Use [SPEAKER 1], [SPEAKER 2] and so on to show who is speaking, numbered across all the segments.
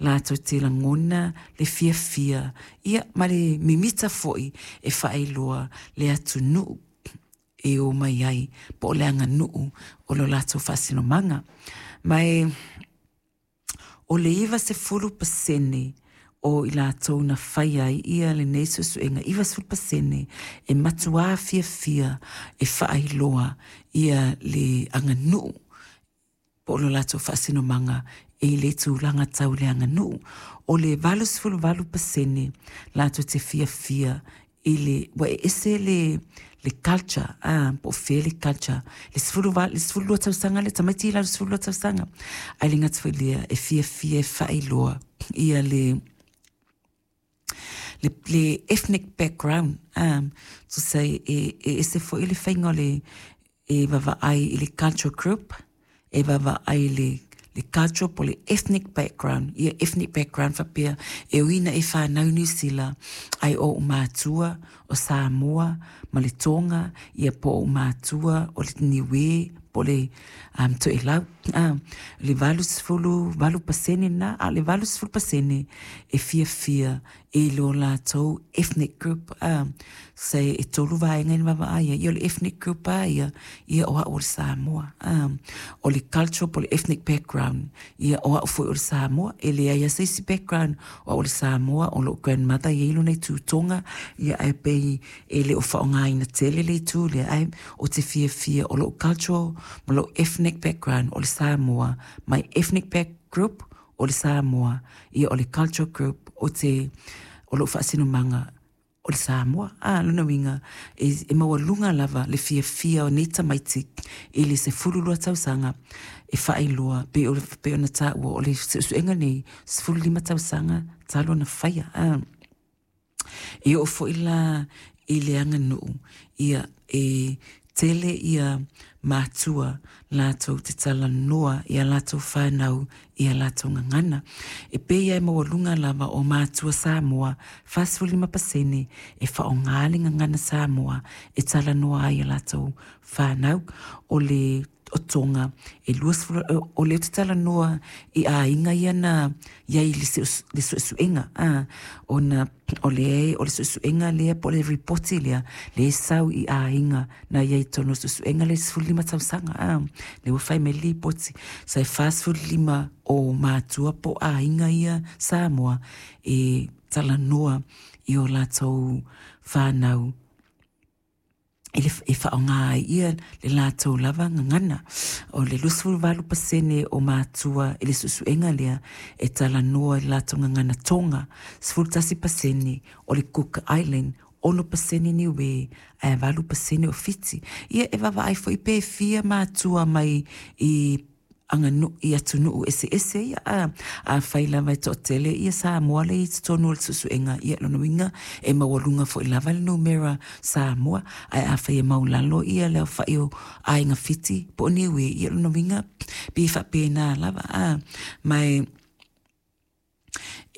[SPEAKER 1] latou te lagona le fiafia, ia ma le mimita foi e faailoa le atunuu e o mai ai po o le aganuu o lo latou faasinomaga. Ma e o le 90% o i latou na faia ai ia lenei suesuega, 90% e matuā fiafia e faailoa ia le aganuu po o lo latou faasinomaga i le tulaga tau le aganuu. O le 88% latou te fiafia i le, ua e ese le culture, po o fea le culture, le 12 tausaga le tamaiti i lalo 12 tausaga, ae le gata foi i lea, e fiafia e faailoa ia le ethnic background, tusa e ese foi le faiga o le e vaavaai i le culture group, e vaavaai i le culture po o le ethnic background, ia ethnic background faapea e ui ina e fanau i Niu Sila, ae o ou matua o Samoa ma le Tonga, ia po o ou matua o le Niue po o le Toelau. Le 88% lena, a o le 80% e fiafia i lo latou ethnic group. Se e tolu vaega i le vaavaai ai, ia o le ethnic group lava ia, ia o au o le Samoa. O le cultural po o le ethnic background, ia o au foi o le Samoa, e leai lava se isi background, o au o le Samoa, o lou grandmother e i ai lona itu Tonga, ia ae pei e le o faaaogaina tele le itu lea, ae ou te fiafia o lou cultural ma lou ethnic background o le Samoa, my ethnic back group o le Samoa, ia o le cultural group o te o lou faasinomaga o le Samoa. A, lona uiga, e maualuga lava le fiafia o nei tamaiti i le 12 tausaga e faailoa, pei ona taua o le suesuega nei, 15 tausaga talu ona faia. A, e oo foi la i le aganuu, ia e tele ia matua latou te talanoa i a latou whānau i a latou gagana. E pei e maualuga lava o matua Samoa, 45% e faaaoga le gagana Samoa e talanoa ai i a latou whānau. O le o Tonga, e 20, o lea ou te talanoa i aiga ia na i ai le suesuega, ona o le suesuega lea po o le ripoti lea, lea e sau i aiga na i ai i totonu o le suesuega lea i le 15 tausaga, lea ua fai mai le lipoti, sa e 45 o matua po o aiga ia Samoa e talanoa i o latou whānau e faaaoga ai ia le latou lava gagana. O le 28% o matua i le suesuega lea e talanoa i le latou gagana Tonga, 11% o le Cook Island, 6% Niue, ae 8% o Fiti. Ia e vaavaai foi pe fia matua mai i aganuu i atunuu eseese ia, afai lava e toatele ia Samoa lea i totonu o le suesuega, ia lona uiga e maualuga foi lava le numera Samoa, ae afai e maulalo ia le aofai o aiga Fiti po o Niue, ia lona uiga pei e faapena lava. Ma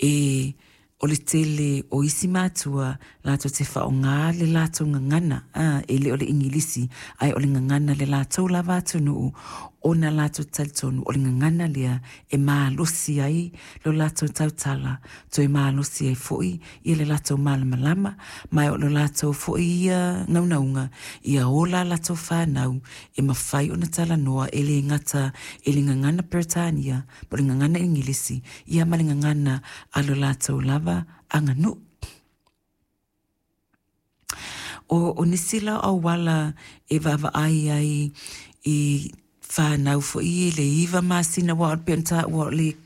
[SPEAKER 1] e o le tele o isi matua latou te faaaoga le latou gagana, e le o le Igilisi, ae o le gagana le latou lava atunuu, ona latou talitonu o le gagana lea e malosi ai lo latou tautala, toe malosi ai foi ia le latou malamalama, ma o lo latou foi ia naunauga, ia ola latou whānau e mawhai ona talanoa e le gata e le gagana Peretania, po o le gagana Igilisi, ia ma le gagana a lo latou lava aganuu. O nisi la auala e vaavaai ai i whānau foi i le 9 masina aua o le pei ona taua o le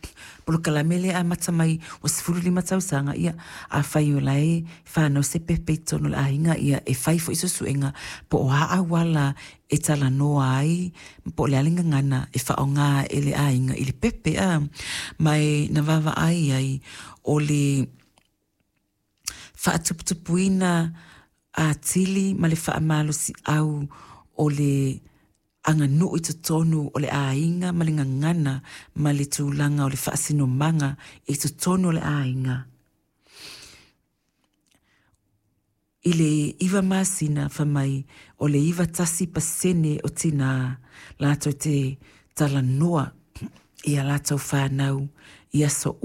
[SPEAKER 1] polokalame lea e amata mai ua 15 tausaga, ia afai o la e whānau se pepe i totonu o le aiga, ia e fai foi suesuega po o a auala e talanoa ai po o le a le gagana e faaaoga e le aiga i le pepe, ma e na vaavaai ai o le faatuputupuina atili ma le faamalosiau o le aganuu i totonu o le aiga ma le gagana ma le tulaga o le faasinomaga i totonu o le aiga. I le 9 masina fai mai o le 91% o tinā latou te talanoa i a latou whānau i aso